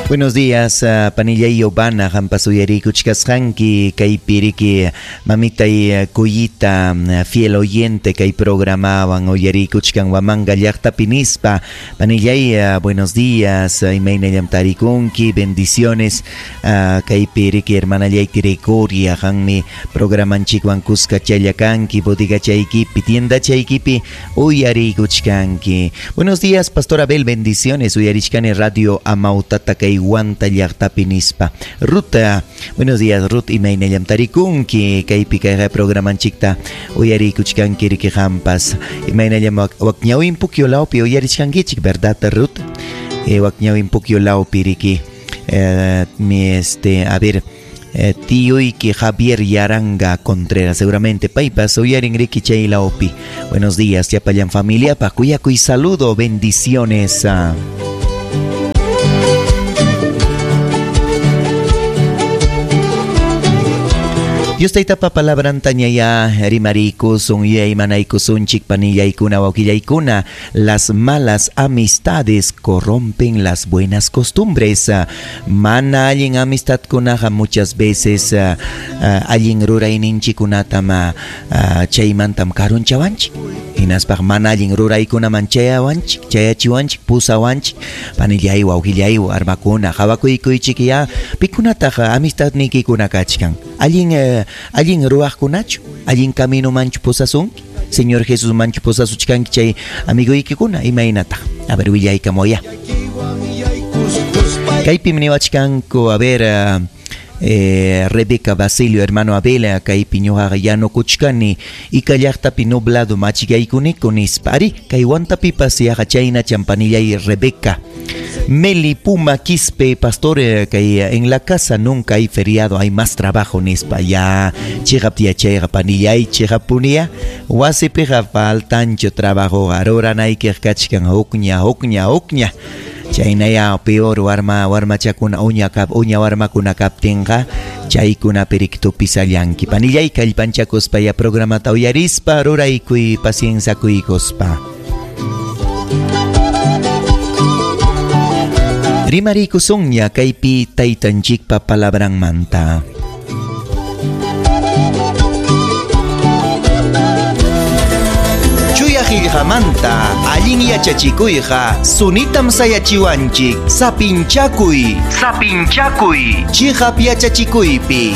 Buenos días, panillay Yobana, qampas uyariykuchkasqanki kaypi riki mamitay Cuyita, fiel oyente kay programawan uyariykuchkan Huamanga llaqtapi nispa. Panillay, buenos días, imaynallam tarikunki, bendiciones. Kaypi riki hermanallay Gregoria, qanmi programanchikwan kuskachalla kanki, bodegachaykipi, tiendachaykipi uyariykuchkanki. Buenos días, Pastor Abel, bendiciones, uyarichkani Radio Amautata kay Huanta llaqtapi nispa. Ruth, buenos días Ruth, imaynallam tarikunki kaypi kay programanchikta uyariykuchkanki riki qampas. Imaynallam wakñawin pukyu lawpi uyarichkankichik, ¿verdad Ruth? Wakñawin pukyu lawpi riki. Mi a ver, tíoyki Javier Yaranga Contreras, seguramente paypas uyarin riki chay lawpi. Buenos días, llapallan familia, pa kuyakuy saludo, bendiciones. Dios taytapa palabrantañaya rimariykusun yuyaymanaykusunchik panillaykuna wawqillaykuna. Las malas amistades corrompen las buenas costumbres. Mana allin amistadkunaqa muchas veces allin rurayninchikkunatam chaymantam karunchawanchik. Hinaspaq mana allin ruraykunaman chayawanchik, chayachiwanchik, pusawanchik. Panillay wawqillay armakuna qawakuykuychik ya pikunataq amistadniykikuna kachkan. Allin allin ruwaqkunachu, allin caminomanchu pusasunki, Señor Jesus manchu pusasuchkanki chay amigoykikuna imaynataq. A ver, willaykamuya. Kaypim niwachkanku, a ver, Rebeca Basilio, hermano Abel, kaypi ñuqaqa yanukuchkani Ica llaqtapi nublado machigaykuniku nispa. Ari, kay Huantapipas yaqa chaynacham panillay Rebeca. Meli Puma Quispe, pastor, kay en la casa nunca hay feriado, hay más trabajo nispa. Ya, chiqap yachayqa panillay, chiqapunia, wasipiqa faltanchu trabajo, ruranaykiq kachkan hukña, hukña, hukña. Chaynaya peor warma warmachakuna uña kap uña warmakuna kaptinqa chaykunapi riki tupisallanki. Panillay kallpanchakuspa ya programata uyarispa ruraykuy pacienciakuykuspa. Rimariykusunña kaypi taytanchikpa palabranmanta. Chuya qillqamanta allin yachachikuyqa sunitam sayachiwanchik. Sapinchakuy, sapinchakuy, chiqap yachachikuypi.